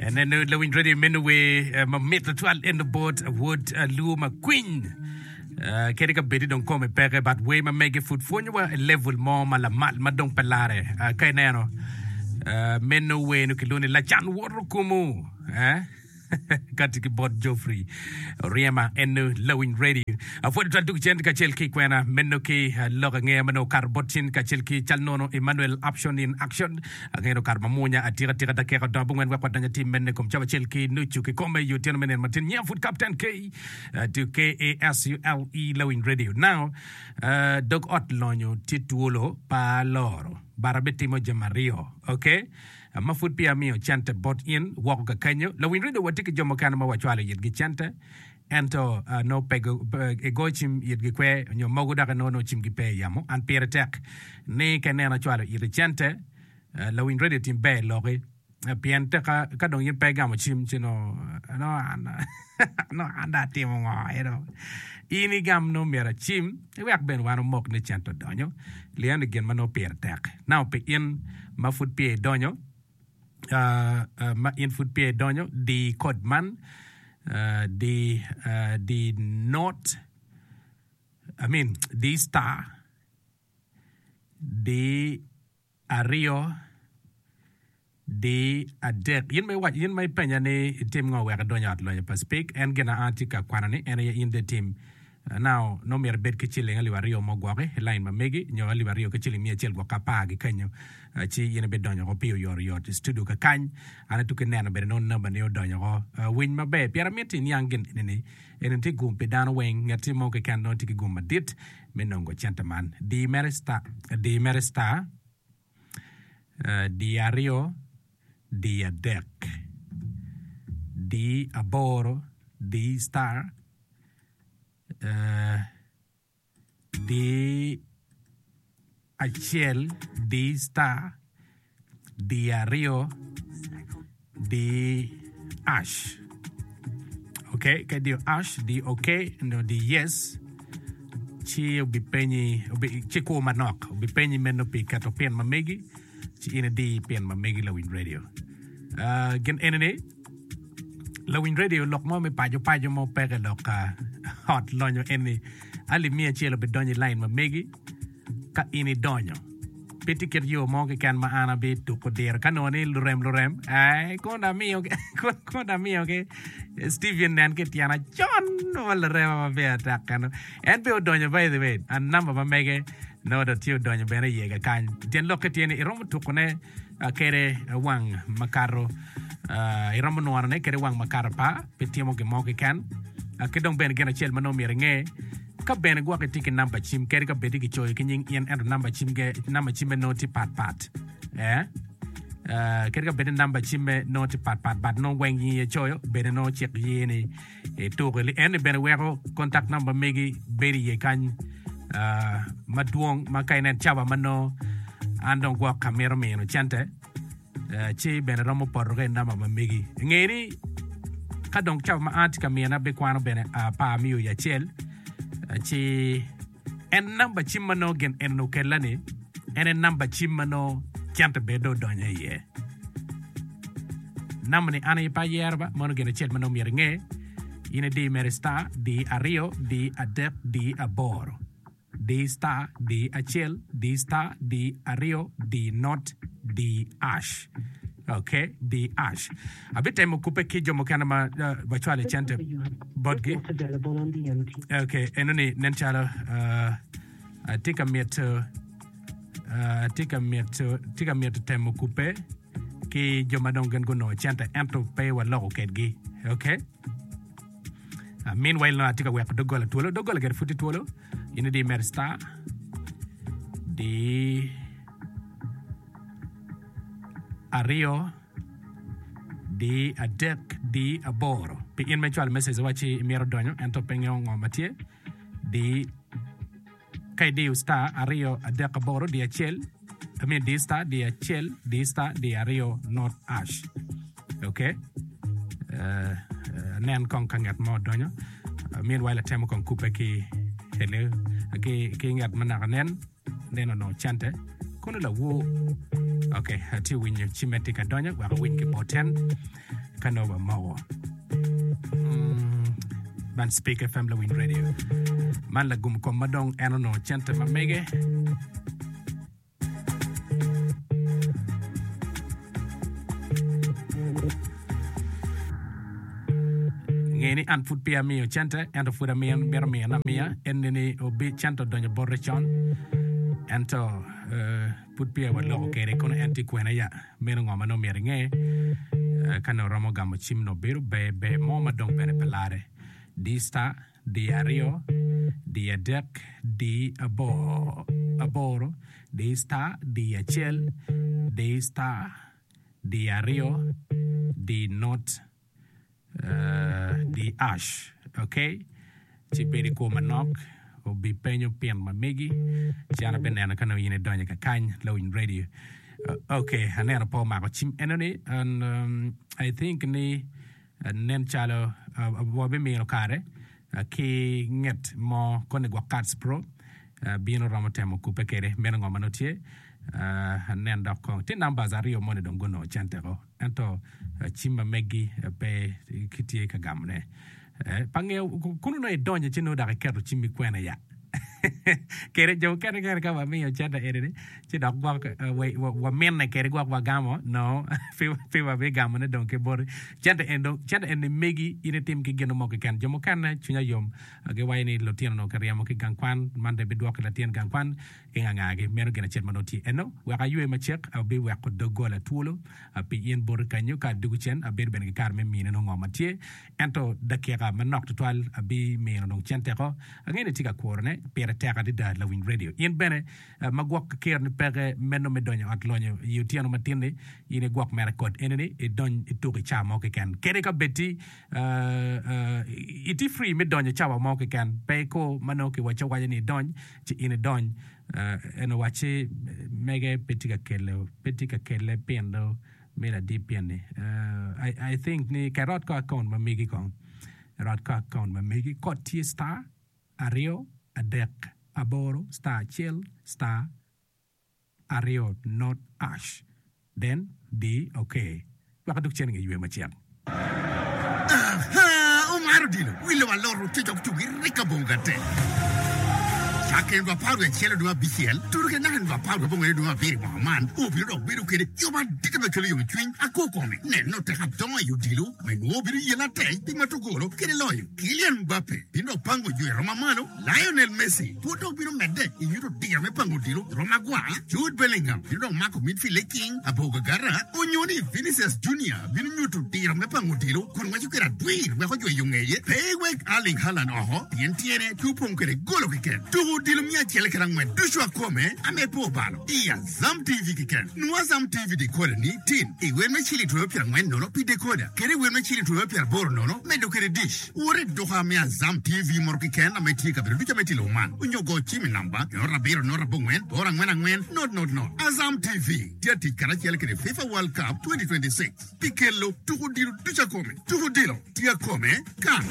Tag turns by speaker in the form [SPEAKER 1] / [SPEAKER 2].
[SPEAKER 1] Eneno lawiny radio meno wer mamit tutwal eno bot wod luo makwiny. Uh, kadi ka bedi dong kome peke but wer ma mege pud pwonyowa i level mo ma lamal ma dong pe lare. Uh, ka ineno uh, meno wer no kilwongo ni lacan woto kumu. Eh? Kati ki bot Geoffrey Oryema en Lawiny Radio. Apwodo twal tuku cen kacel ki kwena meno ki lok angeya ma nongo okato bot cen kacel ki cal nono Emmanuel Option in Action. Angeya nongo okato mamwonya atika tika dakika odongo abongwen wek wadony atim meno i kom cawa acel ki nucu kikome i otyeno me nino matin. Nyinga pud Captain K to KASULE Lawiny Radio. Now, uh, dog ot lonyo tye twolo pa aloro but abitimo jami aryo. Okay? Ma pud peya amiyo cente bot in woko kakenyo, lawiny redio watye ki jo mukene ma wacwalo itgi cente ento nongo pe gigoyo cim itgi kwe nyo mogo dok inongo nongo cimgi pe i yamo. An pire tek ni ka ineno acwalo iti cente, lawiny redio tim ber iloki pien teka ka dong in pe igamo cim ci nongo an nongo an dong atimo ngo eno. In igam nongo myero acim iwek bene wan omok ni cente odonyo lian ni gin ma nongo pire tek. Now pi in ma pud peya idonyo, ma in pud peya idonyo, di kod man, di, di not, I mean, di star, di aryo, Di adek, in ma iwaco, in ma ipenya ni itim ngo wek idony i ot lonyo pa Speke, en gin a atye ka kwano ni en aye in dong itim. Now, nongo myero ibed ki ciling alip aryo mo gwoki i lain ma megi, nyo alip aryo ki ciling miya acel gwok apar ki kenyo, ci in ibidonyo oko pi oyotoyot i studio kakany. An atuki neno bene nongo namba ni odonyo oko. Winy maber, pien amiti iniang gin eni ni, eni tye gum pi dano weng, ngati mo keken nongo tye ki gum madit me nongo cente man. Di mere star, di mere star. Di aryo, di adek, di aboro, di star, di acel, di star, di aryo, di ash. Ok, ka idiyo ash, di ok, nyo di yes, ci obipenyi, obi, ci kur manok, obipenyi meno pi keto pin ma megi, ci in idi pin ma megi lawiny radio. Uh, gin eni ni, lawiny radio lok mo me paco paco mo peke lok uh, ot lonyo eni alip miya acel obidonyo i line ma megi ka in idonyo. Pe tye kit yo mo keken ma an abituko diro ka nongo ni lurem lurem eh, kono amiyo kono amiyo ki Steven nen ki tyena con ma lurema ma peya tek keno. En pe odonyo by the way, an namba ma mege nongo dong tye odonyo bene iye kakany. Tyen lokke tye ni iromo tukone ah, kede wang makato ah, iromo nworone kede wang makato pa pe timo gin mo keken. Ah, ki dong bene gin acel ma nongo myero inge Ka bene gwok itye ki namba cim, kadi ka bed ni kicoyo ki nying in ento namba cimge namba cimme nongo tye patpat. Eh, eh, kadi ka bed ni namba cimme nongo tye patpat but nongo weng in icoyo bene nongo cik ye ni ituko. Eni bene weko contact number megi bedo iye kany ah, madwong ma ka inen cawa ma nongo an dong gwok amito mino cente ci bene romo poto ki i namba ma megi. Nge ni ka dong cawa ma an atye ka mine abikwano bene apar miyo i acel ci en namba cim ma nongo gin eni okella ni en aye namba cim ma nongo cente bene dong odonyo iye. Namba ni an aye pe ayero ba meno gin acel ma nongo myero inge in idi mere star di aryo di adek di aboro. Di star, di acel, di star, di aryo, di not, di ash. Ok, di ash. Abitemo kubbe ki jo mukene ma uh, wacwalo i cente botgi. Ok, enoni nen calo uh, atye ka mito uh, atye ka mito atye ka mito temo kubbe ki jo ma dong gin gunongo cente ento pe waloko kedgi. Ok. Meanwhile nongo atye ka weko doggola twolo. Doggola gire pud tye twolo. In idi mere star di aryo di adek di aboro. Pi in ma icwalo message iwacci imito donyo ento pe ingeyo ngo ma tye di Ka idiyo star aryo adek aboro di acel, I mean di star di acel di star di aryo not ash. Ok. Uh, nen kong ka ngat mo odonyo. Uh, meanwhile atemo kong kubbe ki hello ki ki ngat ma naka nen nen onongo cente kono lawo. Ok, atye winyo cimme tye ka donyo wek awiny ki bot en ka nongo wamoko. Mm, man Speak FM Lawiny Radio. Man lagum kom ma dong en onongo cente ma mege. Nge ni an pud peya amiyo cente, ento pud amiyo, mito miyone amiya. En ni obi cente odonyo bote con, ento eh, pud peya waloko kwede kono en tye kwene ya. Meno ngo ma nongo myero inge? Eh, ka nongo romo gamo cim nongo bedo ber ber mo ma dong bene pe lare. Di star, di aryo, di adek, di aboro, di star, di acel, di star, di aryo, di not, di ash. Ok, ci bed i kwo manok, obipenyo pin ma megi, ci an abineno ka nongo in idonyo kakany, lawiny radio. Ok, aneno pe omako cim enoni, and um, I think ni Nen calo wabimino kare ki nget mo koni gwok Kats Pro bino romo temo kubbe kede. Meno ngo ma nongo tye? Anen dok kong. Tye numbers aryo moni dong gunongo cente ko. Ento cim ma meggi pe kitye ka gamone. Pe angeyo kunu nongo idonyo ci nongo dok iketo cimmi kwene ya. Kede jo mukene kene ka wamiyo cente eni-ni ci dok gwok wamine kede gwok wagamo no pe wabigamone dong ki boti. Cente eni dong cente eni megi in itim ki gin mo keken. Jo mukene cwinya yom giwaco ni lutino onongo kiryemo ki gang kwan man dong ibidwoko ki latin gang kwan ki ngangagi. Meno gin acel ma nongo tye eno. Wek aywe macek abiweko doggola twolo pi in boti kanyo ka adwogo cen abedo bene ki kare me mine nongo ngo ma tye. Ento dakika manok tutwal abimino dong centeko. Angeyo ni itye ka kurone. Pire tek adada lawiny radio. In bene ma gwok keroni peke meno me donyo i ot lonyo i otyeno matin-ni, in igwok mere kod eni-ni idony ituk i cawa mo keken. Kadi ka bed-ti itye free me donyo cawa mo keken, pe ikur ma nongo kiwacci awaca ni idony ci in idony. En owacci mege pe tye ka kelo, pe tye ka kele pindo. Me ladip pienni I think ni ka irot ko account ma megi kong irot ko account ma megi kod tye star aryo adek aboro star acel star aryo not ash then di ok wek adug cen inge ywe macek.
[SPEAKER 2] Aha! Omaro odilo wi lobo alot otic ok tugi rik abongo gatte. Cakke nino 11 dwe abicel tudo ki naka nino 19 dwe abiro i mwaka man, obino dok bedo kede yo madit me cwalo yomcwiny akwo kome. Neno tek adongo i odilo ma inongo obino yelle atek pi mato golo kede loyo. Kylian Mbappe bino dok pango yo i roma malo. Lionel Messi pud dok bino medde i nyuto diro me pango odilo i rom agwar, Jude Bellingham bino dok mako midfield liking abor gagara, onyo ni Vinicius Junior bino nyuto diro me pango odilo kun ngweco kwede adwir wek ojwe yo ngeye. Pe iwek Erling Haaland oko pien tyene tye opong kwede golo keken. Tuko odilo miya acel kede angwen ducu akome ame pe obalo i Azam TV keken. Nwo Azam TV decoder ni tin i wel me ciling twero pyerangwen nono pi decoder kede i wel me ciling twero pyeraboro nono medo kwede dish. Wot i duka me Azam TV moto keken ma tye i kabedo ducu ma itye i lobo man, onyo go cim i namba 07 04 44 000. Azam TV tye atic karacel kede FIFA World Cup 2026 pi kelo tuko odilo ducu akome. Tuko odilo tye akome kan.